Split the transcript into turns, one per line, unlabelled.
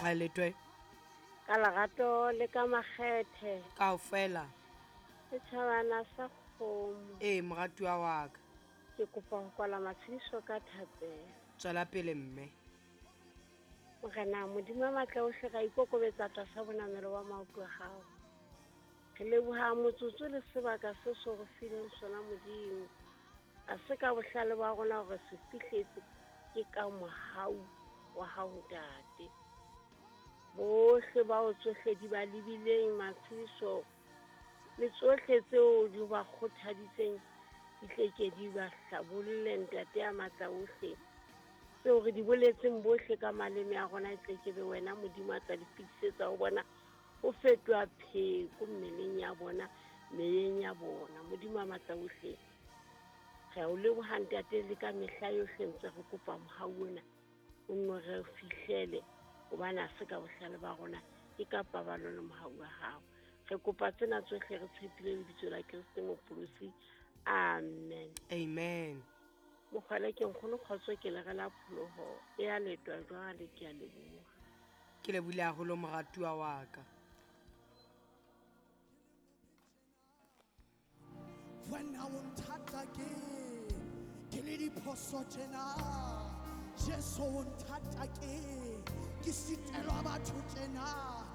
Mokgwaletwe.
Ka lerato le ka makgethe.
Kaofela.
Setjhabana sa kgomo.
Ee, moratuwa wa ka.
Ke kopa ho kwala matshediso ka thapelo.
Tswela pele mme.
Morena Modimo wa matla ohle ra ikokobetsa tlasa bonamelo wa maoto a hao. Re leboha motsotso le sebaka se so re fileng sona Modimo. A se ka bohlale ba rona hore se fihletse ke ka mohau wa hao Ntate. Bohle bao tsohle di ba lebileng matshediso le tsohle tseo di ba kgothaditseng di tle ke di ba hlabolle Ntate ya matla ohle. Tseo re di boletseng bohle ka maleme a rona e tle ke be wena Modimo a tla di fetisetsa ho bona ho fetoha pheko mmeleng ya bona meyeng ya bona. Modimo a matla ohle, re a o leboha Ntate le ka mehla yohle ntse re kopa mohau ona o nno re fihlele hobane ha se ka bohlale ba rona ke ka pabalo le mohau wa hao. Re kopa tsena tsohle re tshepile lebitso la Kreste Mopholosi. Amen.
Amen.
Mokgwele ke nkgono kgotso ke le rela pholoho e a letwa jwale ke a leboha.
Ke lebohile haholo moratuwa wa ka.
Wena o nthata ke ke le diphoso tjena Jesu o nthata ke ke sitelwa batho tjena.